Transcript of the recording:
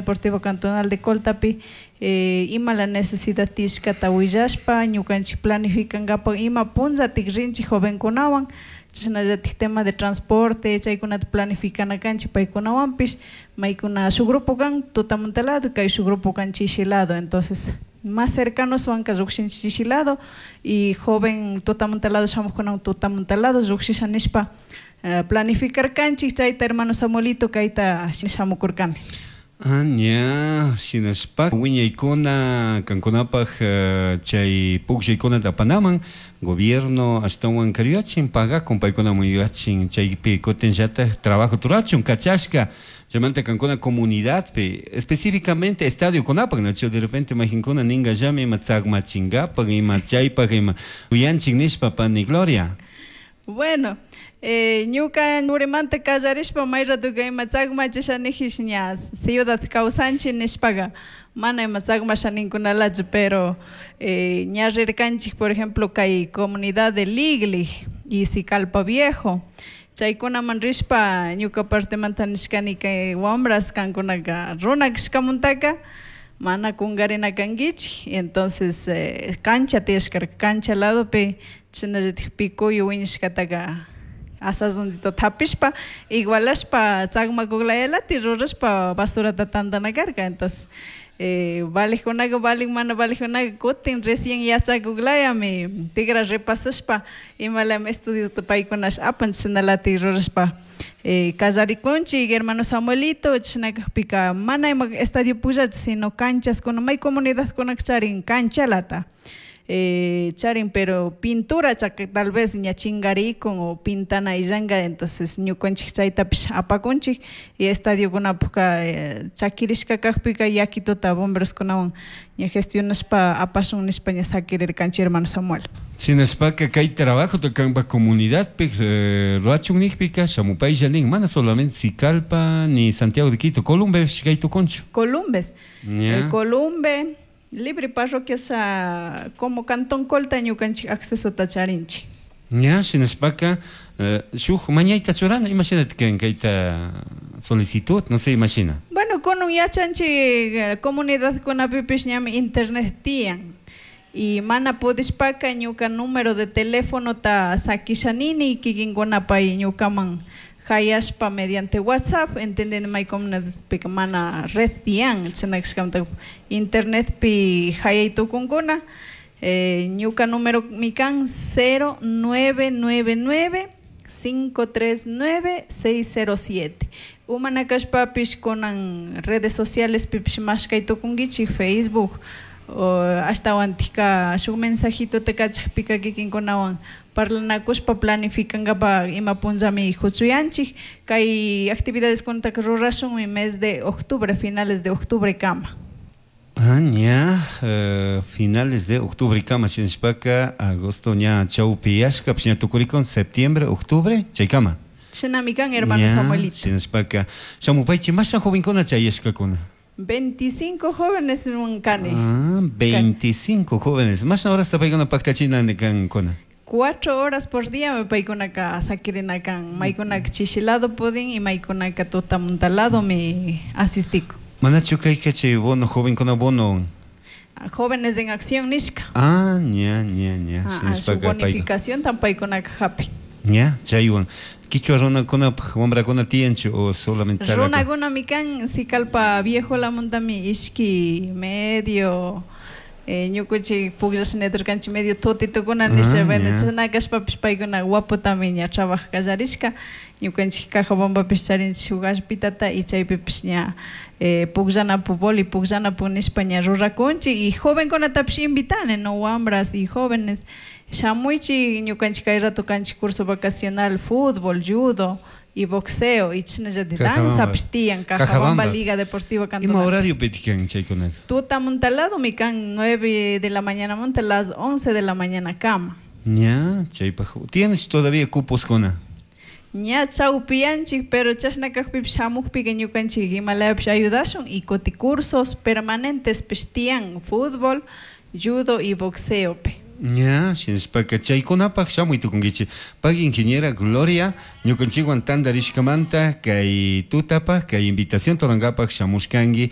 Deportiva Cantonal de Coltapi ima la necesidad tiyashkata willashpa, ñukanchik planificankapak ima punllatik rinchik jovenkunawan, chashnallatik tema de transporte chaykunata planificana kanchik paykunawanpish, maykuna shuk grupo kan tutamunta lado, kay shuk grupo kan chishi lado. Entonces más cercanoswanka llukshinchik chishi lado y joven tutamunta lado shamukkunawan tutamunta lado llukshisha nishpa planificarkanchik. Chayta, hermano Samuelito, kayta shamukurkani. Ah, ña, shinashpa wiñaykuna kankunapaj chay pukllaykunata apanaman gobierno ashtawan karuyachin, pagakun, paykunaman yuyachin, chaypi kutinllatak trabajo rurachun kachashka. Chaymanta kankuna comunidadpi, específicamente estadiokunapak, nachu? De repente mayqinkuna ninkallami ima tsakmachinkapak, ima chaypak, ima yuyanchik nishpa, pani Gloria. Bueno, ñuka urimanta kallarishpa, may ratoka ima tsakmachisha nijish, ña ciudad kawsanchik nishpaga mana ima tsakmasha ninkunalachu, pero ña rirkanchik, por ejemplo, kay comunidad de Liglig y Sicalpa Viejo, chaykunaman rishpa ñuka partemanta nishkani: kay wambras, kankunaka runa kashkamuntaka mana kunkarina kankichik. Entonces cancha tiyashkarka, cancha ladopi chashnallatik picuyo wiñashkataka asasdondito tapishpa, igualashpa, tsakmakulayalati rurashpa basurata tantana karka. Entonces valijkunaka valin, mana valijkunaka kutin recién yachakuklayami tigra repasashpa imalami estudiota paykunash apan, chashnalatik rurashpa kallarikunchik, hermano Samuelito. Chashna kakpika mana ima estadio pukllachu, sino canchaskuna, may comunidadkunaka charin canchalata charin, pero pintura chaka tal vez ña chingarikun o pintana illanka. Entonces ñukanchik chaytapish apakunchik y estadiokunapukka chakirishka kakpika yakituta bomberoskunawan ña gestionashpa apashun nishpa ña sakirirkanchik, hermano Samuel. Shinashpaka kay trabajota kanpak comunidadpi rurachun nijpika shamupaylla nin, mana solamente Sicalpa ni Santiago de Quito, Columbe kay tukunchu? Columbes. El Columbe, libre parroquias, como Cantón Colta ñukanchik accesota charinchik. Ña, shinashpaka shuk mañayta churana, imashinatik kan kayta solicitud, no sé imashina. Bueno, kunun yachanchik comunidadkunapipish ñami internet tiyan y mana pudishpaka ñuka número de teléfonota sakishanini, kikinkuna pay ñukaman hayashpa mediante WhatsApp, entendeni may comunidadpika mana red tiyan, chashna kashkamanta internetpi hayay tukunkuna. Ñuka número mi kan 0999 539 607. Umana kashpapish kunan redes sociales pipish mashkay tukunkichik, Facebook o ashtawantika shuk mensajitota kachakpika kikinkunawan parlanakushpa planificankapak ima punllami huchuyanchik. Kay actividades kunataka rurashunmi mes de octubre, finales de octubre kama. Ah, ña, finales de octubre kama, shinashpaka agosto ña chawpiyashka, ña tukurikun, septiembre, octubre, chaykama. Shinami kan, hermano Samuelito. Shinashpaka shamupaychik. Masha jovenkuna chayashkakuna? 25 jóvenes kani. Ah, 25 jóvenes. Mashna horasta paykuna paktachina kankuna? 4 horas por día me paykunaka sakirina kan. Maykunaka chishi lado pudin y maykunaka tutamunta lado mi asistico. Manachu kayka chay bono, jovenkuna bono? Jóvenes en Acción nishka. Ah, ña. Ah, su bonificación tan paykunaka hapi. Ña, chaywan. Kichwa runakunapaq wamrakuna tiyanchu o solamente? Runakuna mi kan Sicalpa Viejo lamuntami ishki medio ñukunchik pukllashniturkanchik medio tutitukuna nisha. Bueno, chashna kashpapish paykuna guapotami ña trabaja kallarishka. Ñukanchik Cajabambapish charinchik shuk allpitata y chaypipish ña pukllanapu, vóley pukllanapu nishpa ña rurakunchik y jovenkunatapish invitani, no, wambras y jóvenes, shamuychik. Ñukanchik kay rato kanchik curso vacacional, fútbol, judo y boxeo y chashnallatik danzapish tiyan, Cajabamba Liga Deportiva Cantonal. Ima horario kan chaykunaka? Tutamunta lado mi kan 9 de la mañana monta las 11 de la mañana kama. Ña, chaypaq ¿tienes todavía cupos kuna? Ña chawpiyanchik, pero chashna kakpipish shamukpika ñukanchik imalapish ayudashun y kuti cursos permanentes pish tiyan, fútbol, judo y boxeopi. Ña, shinashpaka chaykunapaq shamuy tukunkichik. Pagui, ingeniera Gloria, ñukanchikwan tantarishkamanta kay tutapaq, kay invitación rurankapak shamushkanki.